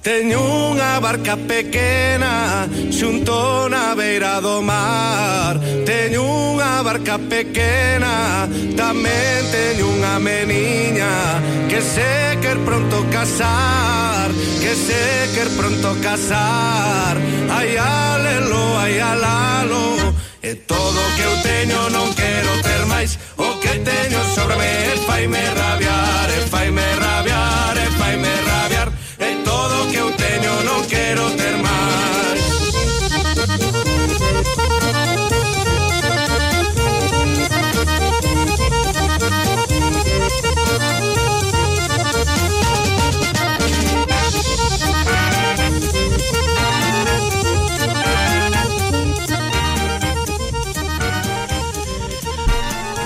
Teño unha barca pequena xunto na beira do mar. Teño unha barca pequena, tamén teño unha meniña que se quer pronto casar, que se quer pronto casar. Ai alelo, ai alalo, e todo o que eu teño non quero ter máis. O que teño sobre me faime rabiar, e faime rabiar, e faime rabiar. E todo o que eu teño non quero ter máis.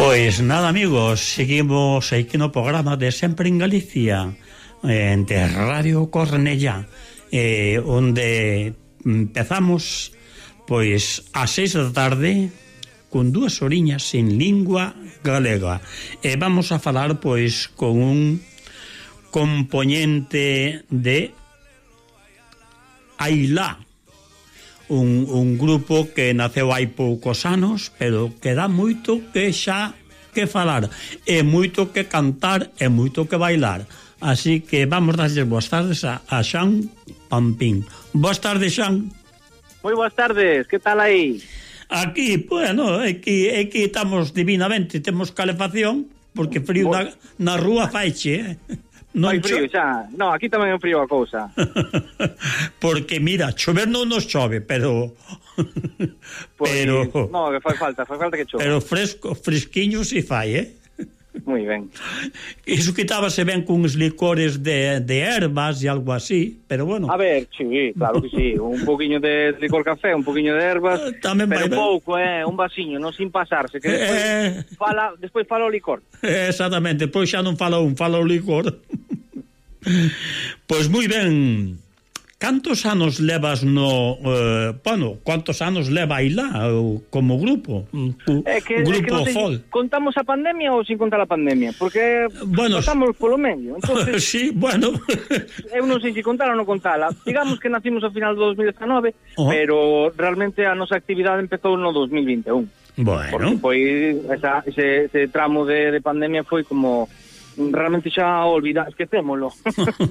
Pois nada, amigos, seguimos aquí no programa de Sempre en Galicia, de Radio Cornellá, onde empezamos pois ás 6 da tarde con 2 horiñas en lingua galega, e vamos a falar pois con un componente de Ailá, un grupo que naceu hai poucos anos, pero que dá moito que xa que falar, e moito que cantar, e moito que bailar. Así que vamos darles boas tardes a Xan Pampín. Boas tardes, Xan. Moi boas tardes, que tal aí? Aquí, bueno, aquí estamos divinamente, temos calefacción, porque frío na rúa faiche, Non hai frío xa, no, aquí tamén é frío a cousa. Porque mira, chover non nos chove, pero pues, pero no, que fai falta que chove. Pero fresquiño si fai, Moi ben. Iso quitábase ben con uns licores de ervas e algo así, pero bueno. A ver, sí, claro que sí, un poquinho de licor café, un poquinho de ervas, tamén pero pouco, un vasiño, non sin pasarse, que despois fala o licor. Exactamente, pois xa non fala fala o licor. Pois moi ben. Cantos anos levas quantos anos leva Ailá como grupo? Grupo Fol. Contamos a pandemia ou sin contar a pandemia? Porque estamos polo medio. Entonces, sí, bueno. Eu non sei se contar ou non contala. Digamos que nacimos ao final do 2019, pero realmente a nosa actividade empezou no 2021. Bueno. Porque foi ese tramo de pandemia foi como realmente xa esquecémolo.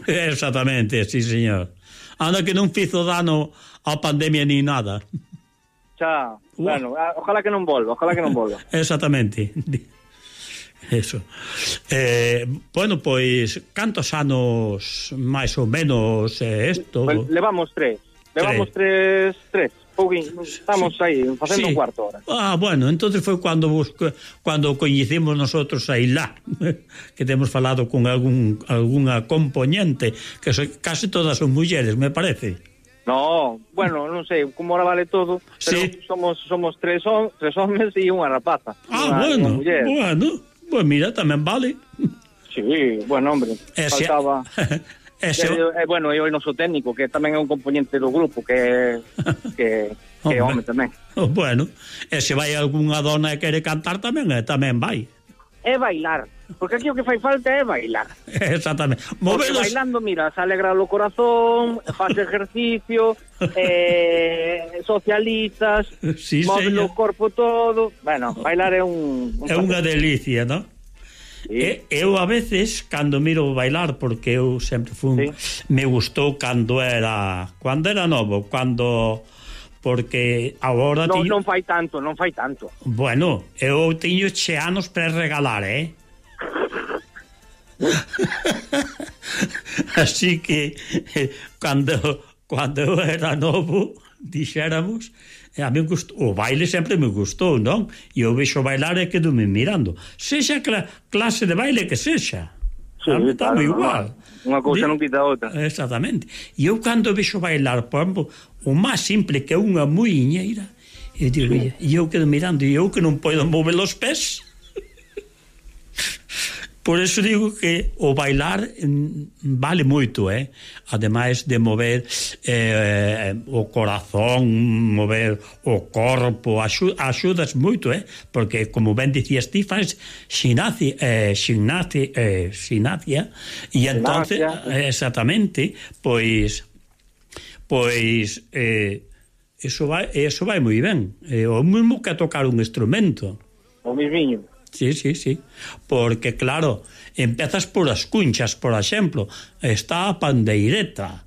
Exactamente, sí, señor. Anda que non fizo dano a pandemia ni nada. Xa, bueno, ojalá que non volva. Exactamente. Eso. Bueno, pois, cantos anos máis ou menos isto? Pues, levamos tres. Estamos aí, facendo un cuarto hora. Bueno, entonces foi cando coñecemos nosotros a Ailá, que temos falado con algunha componente, que casi todas son mulleres, me parece. No, bueno, non sei, como ahora vale todo, pero sí. Somos tres homes e unha rapaza. Bueno, pues mira, tamén vale. Sí, bueno, hombre, faltaba... bueno, e o noso técnico, que tamén é un componente do grupo, que é home tamén. Bueno, e se vai algunha dona e quere cantar tamén vai. É bailar, porque aquí o que fai falta é bailar. Exactamente. Porque bailando, mira, se alegra o corazón, faz ejercicio, socializas, sí, move o corpo todo. Bueno, bailar é unha delicia, non? Sí. Eu a veces cando miro bailar, porque eu sempre fui me gustou cando era novo, porque agora non fai tanto. Bueno, eu teño anos para regalar, así que cando eu era novo, dixéramos, a mí o baile sempre me gustou, non? E eu vexo bailar e quedo-me mirando. Sexa clase de baile que sexa. Está moi igual. Unha cousa non quita outra. Exactamente. E eu cando vexo bailar, por exemplo, o máis simple que é unha muiñeira, e eu quedo mirando, e eu que non podo mover os pés. Por eso digo que o bailar vale moito, ademais de mover o corazón, mover o corpo, axudas moito, porque como ben dicías ti, faz ximnasia, e entonces exactamente, pois eso vai moi ben, o mesmo que tocar un instrumento, o mismiño. Sí, porque claro, empezas por as cunchas, por exemplo, está a pandeireta,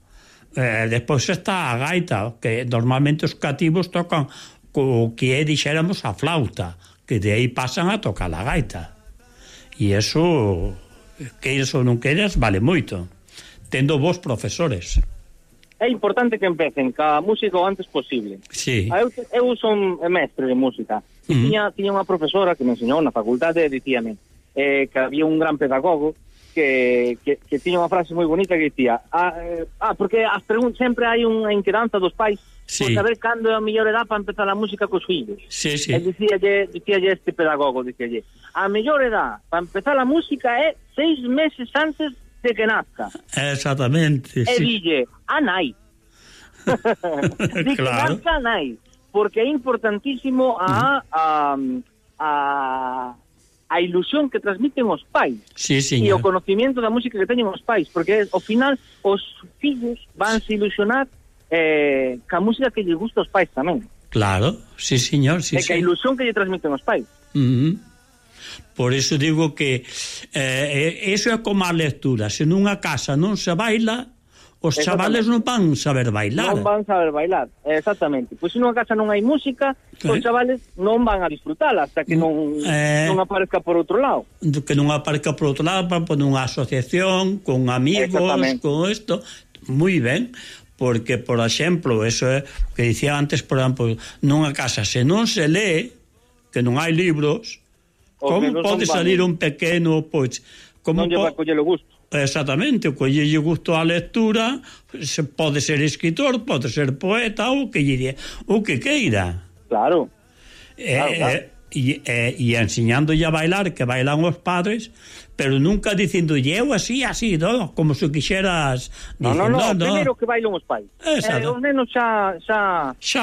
despois está a gaita, que normalmente os cativos tocan o que dixéramos a flauta, que de aí pasan a tocar a gaita, e eso, queiras ou non queiras, vale moito, tendo vos profesores. É importante que empecen ca música o antes posible. Sí. Eu son mestre de música. Tiña unha profesora que me enseñou na facultade e dicíame que había un gran pedagogo que tiña unha frase moi bonita que dicía porque as preguntas sempre hai unha inquedanza dos pais por saber cando é a mellor edad para empezar a música cos fillos. Sí. E dicíalle este pedagogo, dicíalle, a mellor edad para empezar a música é 6 meses antes de que nazca. Exactamente, e dille, a nai. De claro. Que nazca a nai. Porque é importantísimo a ilusión que transmiten os pais. Sí, e o conocimiento da música que teñen os pais. Porque ao final os fillos van se ilusionar ca música que lle gusta aos pais tamén. Claro, sí, señor. Sí, e que a ilusión que lle transmiten os pais. Por eso digo que eso é como a lectura. Se nunha casa non se baila, os chavales non van saber bailar. Non van saber bailar, exactamente. Pois se nunha casa non hai música, os chavales non van a disfrutala hasta que non aparezca por outro lado. Que non aparezca por outro lado, para poner unha asociación con amigos, con isto. Moi ben, porque, por exemplo, eso é que dicía antes, por exemplo, nunha casa se non se lee, que non hai libros, como pode salir un pequeno, pois, como non lle vai coller o gusto. Exactamente, o collelle gusto á lectura, pode ser escritor, pode ser poeta, o que queira. Claro. E enseñándolle a bailar, que bailan os padres, pero nunca dicindolle eu así, no? Como se quixeras dicir, no, primeiro que bailan os pais. Os nenos xa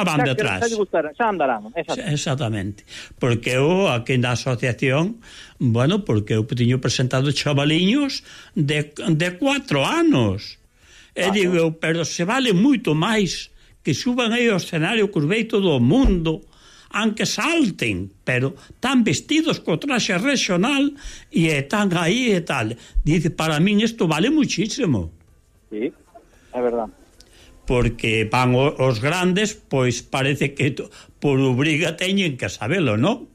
van detrás. Xa andarán. Exactamente. Porque eu aquí na asociación, bueno, porque eu tiño presentado chavaliños de 4 anos. E digo eu, pero se vale moito máis que suban aí ao escenario que os vei todo o mundo, aunque salten, pero están vestidos co traxe regional e están aí e tal. Dice, para min isto vale muchísimo. Sí, é verdad. Porque van os grandes, pois parece que por obriga teñen que sabelo, non?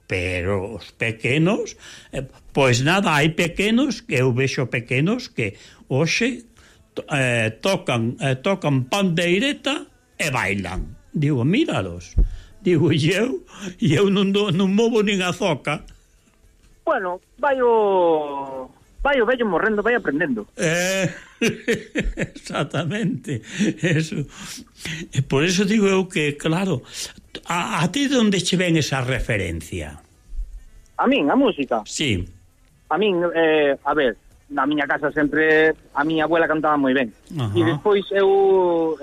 Pero os pequenos, pois nada, hai pequenos, que eu vexo pequenos que hoxe tocan pandeireta e bailan. Digo, míralos. Digo, eu non movo nin a zoca. Bueno, vai o vello morrendo, vai aprendendo. Exactamente. Eso. Por eso digo eu que, claro, a ti de onde che ven esa referencia? A min, a música? Sí. A min, a ver, na miña casa sempre a miña abuela cantaba moi ben. E despois eu...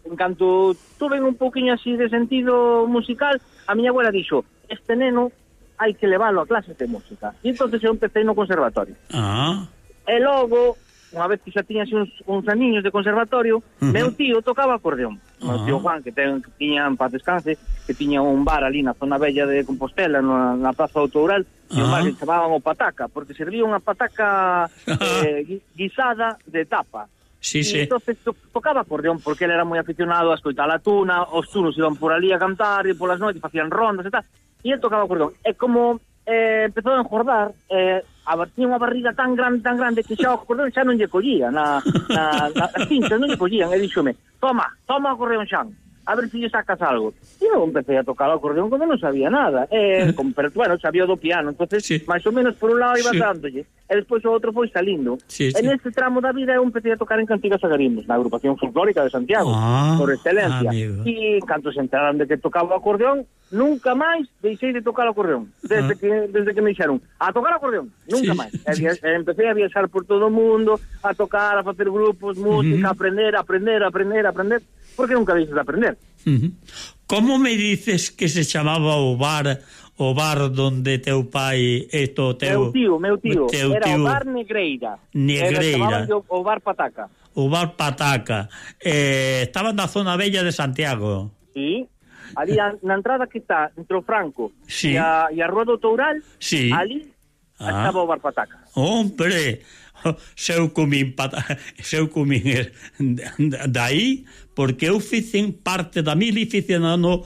en canto tuve un poquinho así de sentido musical, a miña abuela dixo, este neno hai que leválo a clases de música. E entonces eu empecé no conservatorio. E logo, unha vez que xa tiña así uns aniños de conservatorio, meu tío tocaba acordeón. Meu tío Juan, que tiña en paz descanse, que tiña un bar ali na zona bella de Compostela, na Praza do Toural, e un bar que chamaban o Pataca, porque servía unha pataca guisada de tapa. Sí. Entonces tocaba acordeón porque ele era moi aficionado a escoitar a tuna, os tunos iban por ali a cantar e polas noites facían rondas e tal, e ele tocaba acordeón. E como empezou a engordar, tiña unha barriga tan grande que xa o acordeón xa non lle collía nas cinchas, non lle collían, e díxome, toma acordeón Xan, a ver se lle sacas algo. E eu empecé a tocar o acordeón cando non sabía nada, pero bueno, sabía do piano, entonces máis ou menos por un lado iba dándolle. e despois o outro foi salindo. E neste tramo da vida eu empecé a tocar en cantigas e garimbos, na agrupación folclórica de Santiago, por excelencia. E cando se enteraron de que tocaba o acordeón, nunca máis deixei de tocar o acordeón. Desde que me dixeron, a tocar o acordeón, nunca máis. Empecé a viaxar por todo o mundo, a tocar, a facer grupos, música, aprender, porque nunca deixes de aprender. Como me dices que se chamaba o bar donde teu pai e teu tío, era o bar Negreira. Era o bar Pataca. O bar Pataca. Estaba na zona bella de Santiago. Sí. Ali na entrada que está entre o Franco e a Rua do Toural, ali estaba o bar Pataca. Hombre, seu comín daí, porque eu fixen parte da mili, fixen o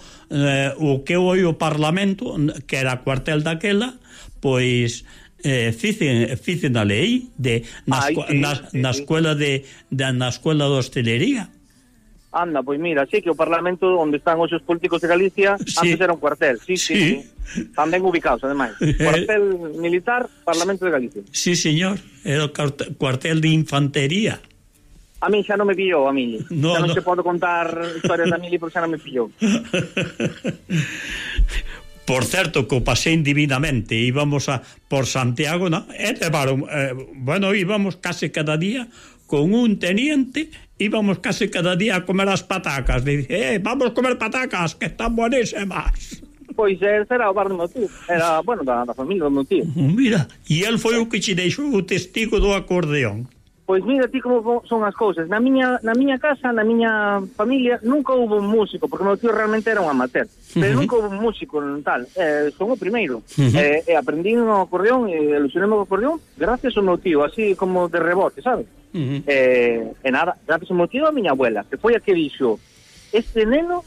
que foi o Parlamento, que era a cuartel daquela, pois fixen a lei na escuela de hostelería. Anda, pois mira, sí que o Parlamento onde están os políticos de Galicia antes era un cuartel, sí. Tamén ubicados, ademais. Cuartel militar, Parlamento de Galicia. Sí, señor, era o cuartel de infantería. A mí xa non me pillou, a Mili. Xa non se podo contar historias da Mili porque xa non me pillou. Por certo, que o pasei divinamente. Íbamos por Santiago, ¿no? Íbamos case cada día con un teniente, íbamos casi cada día a comer as patacas. Dice, vamos a comer patacas, que están buenísimas. Pois era o bar do meu tío, era, da familia do meu tío. Mira, e el foi o que te deixou o testigo do acordeón. Pois mira ti como son as cousas. Na miña casa, na miña familia, nunca houve un músico, porque o meu tío realmente era un amateur, pero nunca houve un músico tal. Son o primeiro. E aprendí o acordeón, e ilusionei o acordeón gracias ao meu tío, así como de rebote, sabes? E nada, gracias ao meu tío, a miña abuela, que foi a que dixo, este neno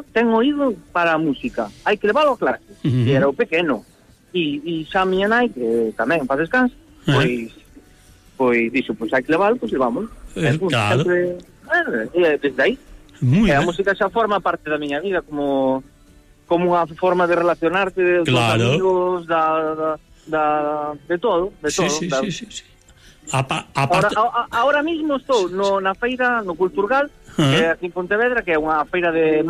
ten oído para a música, hai que leválo a clase. E era o pequeno. E xa a miña nai, que tamén faz descanso, pois dixo, pois hai que leválo, pois levamos. Claro. Desde aí. A música xa forma parte da miña vida como unha forma de relacionarte con amigos, de todo. Sí. Ahora mismo estou na feira, no Culturgal, aquí en Pontevedra, que é unha feira de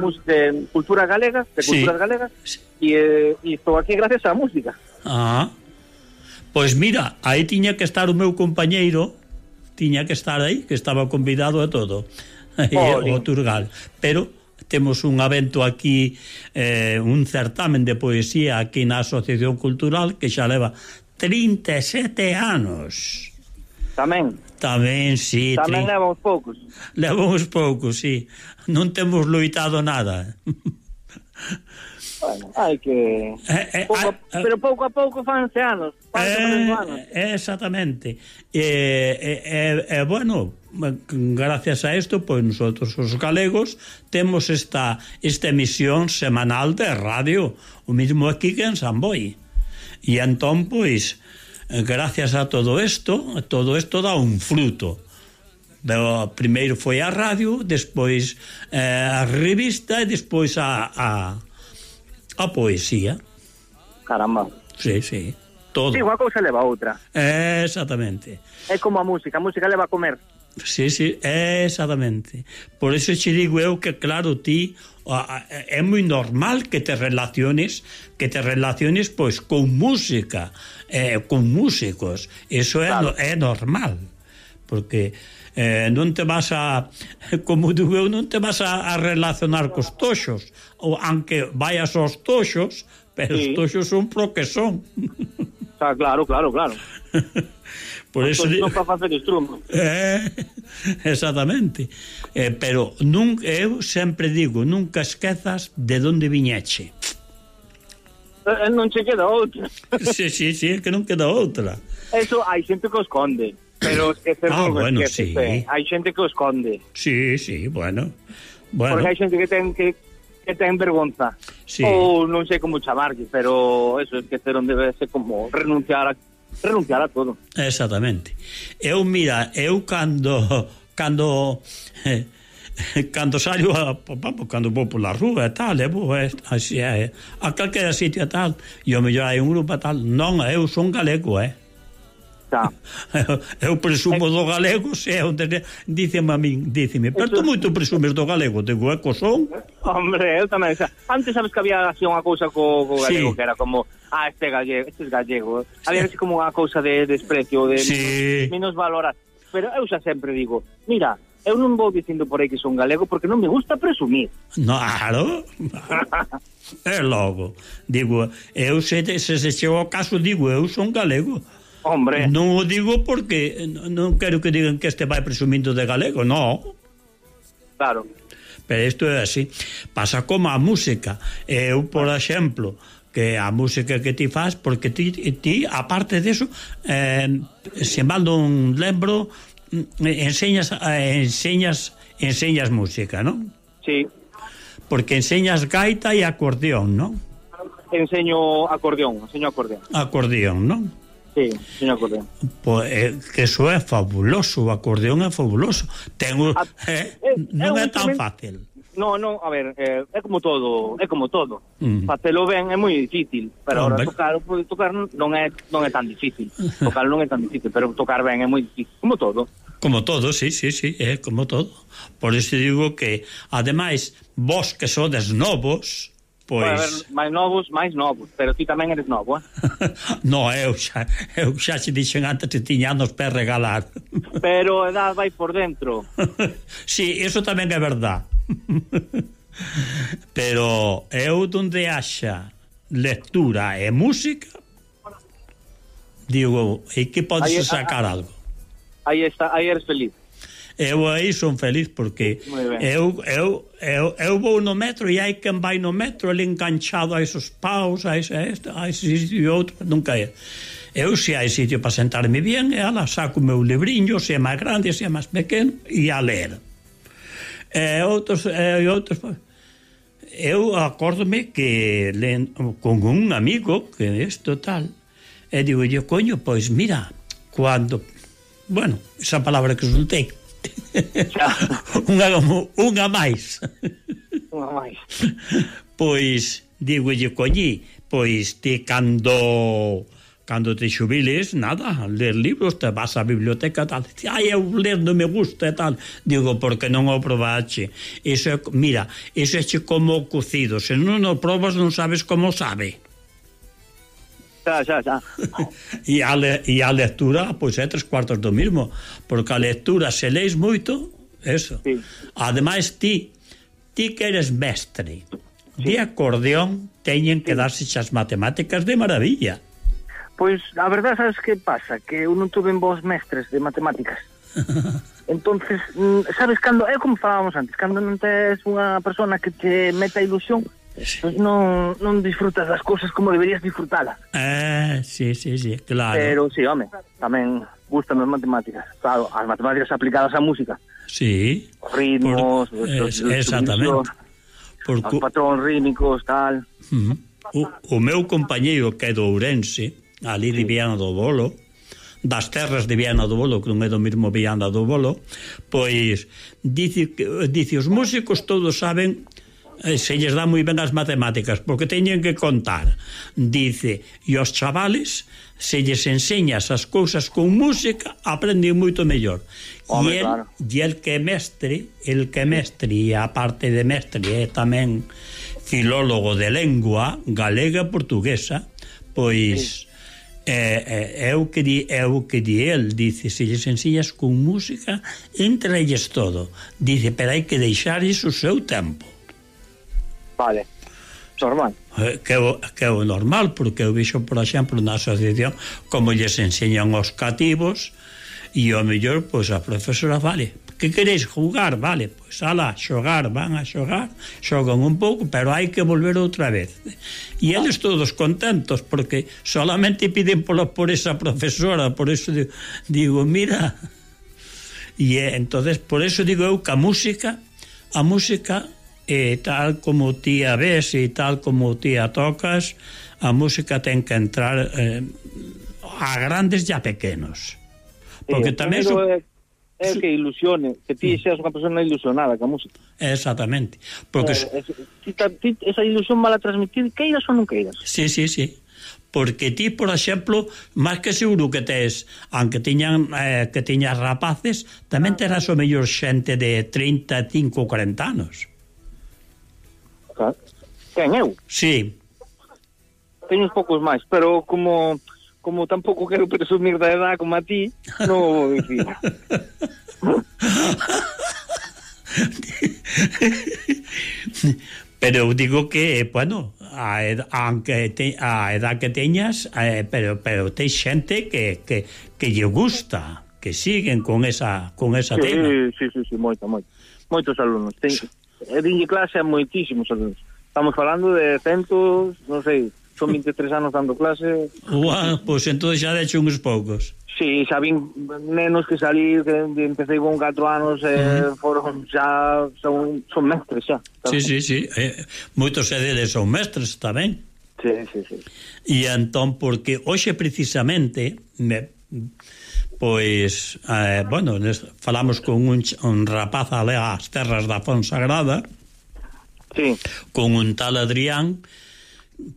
cultura galega, de culturas galegas, e estou aquí gracias á música. Pois mira, aí tiña que estar o meu compañeiro, tiña que estar aí, que estaba convidado a todo, o Turgal. Pero temos un evento aquí, un certamen de poesía aquí na Asociación Cultural, que xa leva 37 anos. Tamén, sí. Tamén levamos poucos. Sí. Non temos loitado nada. Bueno, hai que... pero pouco a pouco fanse anos. Exactamente. Bueno, gracias a esto, pues nosotros os galegos temos esta emisión semanal de radio, o mismo aquí que en San Boi. E entón, pues, gracias a todo esto dá un fruto. Primeiro foi a radio, despois a revista e despois a poesía. Caramba. Sí, todo. Sí, unha cousa leva a outra. Exactamente. É como a música leva a comer. Sí, exactamente. Por eso che digo eu que, claro, ti é moi normal que te relaciones pois con música, con músicos. Eso claro. É normal. Porque non te vas como digo eu, non te vas a relacionar cos toxos, ou aunque vayas aos toxos, pero os toxos son pro que son. Claro. Por eso non para facer estrumo. Exactamente. Pero eu sempre digo, nunca esquezas de onde viñeche. Non che queda outra. Sí, é que non queda outra. Eso hai xente que o esconde. Pero esquecer bueno, sí. Hai xente que o esconde. Sí, bueno. Porque hai xente que ten vergonza. Sí. Ou non sei como chamarlle, pero eso, esquecer onde debe ser como renunciar a todo. Exactamente. Eu cando salgo cando vou pola rúa e tal, vou así a calquera sitio e tal, e o mellor hai un grupo e tal, non, eu son galego, Eu presumo do galego, se onde díceme a min, pero tú moito presumes do galego, digo, co son. Hombre, eu tamén, antes sabes que había así unha cousa co galego, que era como, este é gallego, había así como unha cousa de desprecio, de menos valorar, pero eu xa sempre digo, mira, eu non vou dicindo por aí que son galego porque non me gusta presumir. Claro. É logo, digo, eu se chego ao caso, digo, eu son galego. Hombre. Non o digo porque non quero que digan que este vai presumindo de galego, non. Claro. Pero isto é así. Pasa como a música. Eu, por exemplo, que a música que ti faz, porque ti aparte deso, se mal non lembro, enseñas música, non? Sí. Porque enseñas gaita e acordeón, non? Enseño acordeón. Acordeón, non? Sí, enseño acordeón. Pois que eso é fabuloso, o acordeón é fabuloso. Non é tan fácil. No, a ver, é como todo. Facelo ben é moi difícil, pero ahora tocar non é tan difícil. Tocar non é tan difícil, pero tocar ben é moi difícil, como todo. Como todo, sí, é como todo. Por iso digo que, ademais, vos que sodes novos, pois... Pode haber máis novos, pero ti tamén eres novo, No, eu xa te dixen antes que tiña nos pés regalar. Pero a edad vai por dentro. Sí, eso tamén é verdad. Pero eu donde haxa lectura e música, digo, e que podes sacar algo? Aí eres feliz. Eu aí son feliz porque eu vou no metro e hai quen vai no metro ali enganchado a esos paus, a ese e outro, nunca é. Eu se hai sitio para sentarme bien, saco o meu libriño, se é máis grande, se é máis pequeno, e a ler. Outros eu acórdome que con un amigo que isto tal, e digo yo, coño, pois mira, cuando, bueno, esa palabra que soltei, unha máis. Pois digo lle, coñi, pois ti cando te xubiles, nada, ler libros, te vas á biblioteca tal, eu ler non me gusta e tal, digo, porque non o probache. Mira, iso é como o cocido, se non o probas non sabes como sabe. Xa. E a lectura, pois é 3/4 do mismo, porque a lectura, se leis moito, eso. Sí. Ademais, ti que eres mestre de acordeón, teñen que darse as matemáticas de maravilla. Pois, a verdade, sabes que pasa? Que eu non tuve vos mestres de matemáticas. Entonces, sabes, cando é como falábamos antes, cando non tes unha persona que te meta ilusión, pues non disfrutas das cousas como deberías disfrutalas. Sí, claro. Pero sí, home, tamén gustan as matemáticas. Claro, as matemáticas aplicadas á música. Sí. Os ritmos, exactamente. Os patróns rítmicos, tal. O meu compañeiro que é do Ourense, ali de Viana do Bolo, das terras de Viana do Bolo, que non é do mesmo Viana do Bolo, pois dice os músicos todos saben, se lles dá moi ben as matemáticas, porque teñen que contar. Dice, e os chavales, se lles enseñas as cousas con música, aprenden moito mellor. E el que é mestre, e a parte de mestre é tamén filólogo de lengua galega e portuguesa, pois é o que di el, dice, se lles enseñas con música, entra lles todo. Dice, pero hai que deixar iso o seu tempo. Vale, normal. Que é o normal, porque eu vexo, por exemplo, na asociación como lles enseñan os cativos, e ao mellor, pois a profesora, vale, que queréis jugar? Vale, pois ala, xogar, van a xogar, xogan un pouco, pero hai que volver outra vez. E eles todos contentos, porque solamente piden por esa profesora, por eso digo, mira, e entonces, por eso digo eu que a música, tal como ti a ves e tal como ti a tocas, a música ten que entrar a grandes e a pequenos, porque tamén é que ilusione, que ti seas unha persona ilusionada ca música. Exactamente, porque esa ilusión mala transmitir, queiras ou non queiras. Sí, porque ti, por exemplo, máis que seguro que tes, aunque tiñas rapaces, tamén terás o mellor xente de 35 ou 40 anos. Quen, eu? Sí. Teño uns poucos máis, pero como tampouco quero presumir da edad como a ti, non vou dicir. Pero digo que, bueno, aunque a edad que teñas, pero tes xente que lle gusta, que siguen con esa tema. Sí, moitos alumnos. Dinlle clase a moitísimos alumnos. Estamos falando de centos, non sei, son 23 anos dando clase. Pois entón xa de hecho uns poucos. Sí, xa vin nenos que salí, que empecé con 4 anos, foron xa, son mestres xa. Sí. Moitos deles son mestres tamén. Sí. E entón, porque hoxe precisamente, pois, bueno, falamos con un rapaz ali ás terras da Fonsagrada, sí, con un tal Adrián,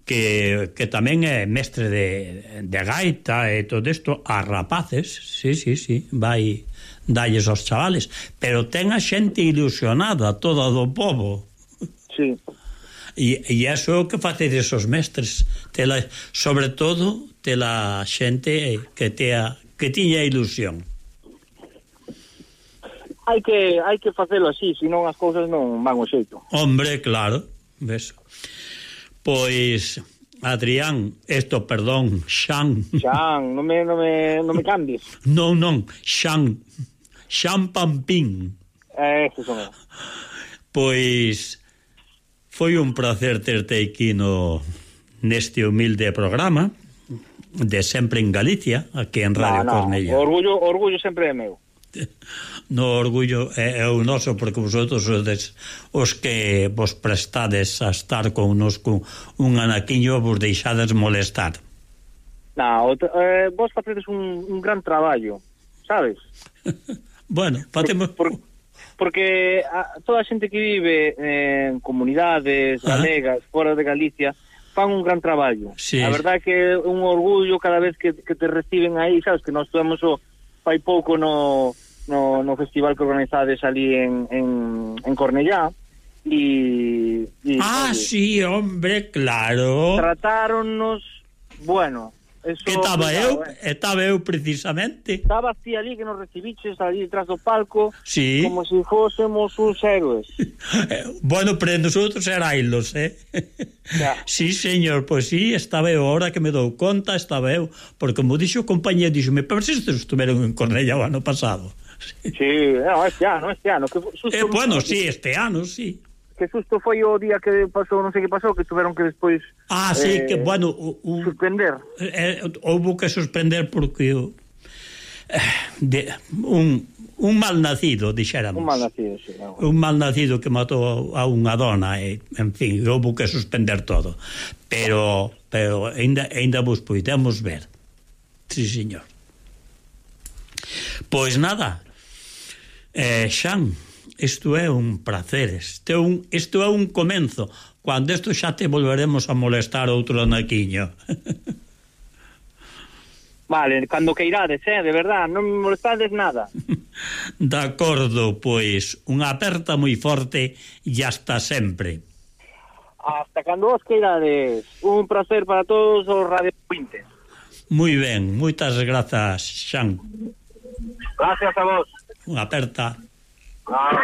que tamén é mestre de gaita e todo isto a rapaces, sí, vai dalles aos chavales, pero ten a xente ilusionada toda do povo. Sí. E iso é o que facedes os mestres, sobre todo tela xente que tiña ilusión. Hai que facelo así, senón as cousas non van o xeito. Hombre, claro, ves. Pois, Adrián, Xan, non me cambies. Non, Xan Pampín. Eso son eu. Pois foi un placer terte aquí neste humilde programa de Sempre en Galicia, aquí en Radio Cornellá. Orgullo sempre é meu. No, orgullo é o noso, porque vosotros sodes os que vos prestades a estar con un anaquiño, vos deixades molestar. Vos facedes un gran traballo, sabes? Bueno, facemos... Porque toda a xente que vive en comunidades galegas, fora de Galicia, fan un gran traballo. Sí. A verdade é que é un orgullo cada vez que te reciben aí, sabes, que nós estuvemos fai pouco no festival que organizades ali en Cornellá e sí, hombre, claro. Tratáronnos, bueno, eso, que estaba eu precisamente. Estaba ti ali que nos recibiches ali detrás do palco, sí, como se fósemos uns héroes. Bueno, pero nosotros erailos, Sí, señor, pois sí, estaba eu, ahora que me dou conta, estaba eu, porque como dixo o compañía, dixome, pero se estuveron en Cornellá o ano pasado. Sí, este ano. Que susto, bueno, sí, este ano, sí. Que susto foi o día que pasou, non sei que pasou, que tuveron que despois... sí, que, bueno... suspender. Houve que suspender porque... un malnacido, dixéramos. Un malnacido, sí. Un malnacido que matou a unha dona, en fin, houve que suspender todo. Pero ainda vos podemos ver. Sí, señor. Pois nada, Xan, isto é un placer, isto é un comenzo. Cando isto xa te volveremos a molestar outro anaquiño. Vale, cando que irades, de verdad, non me molestades nada. De acordo, pois, unha aperta moi forte e hasta sempre. Hasta cando vos que irades. Un placer para todos os radiovintes. Moi ben, moitas grazas, Xan. Gracias a vos. Unha aperta. Claro.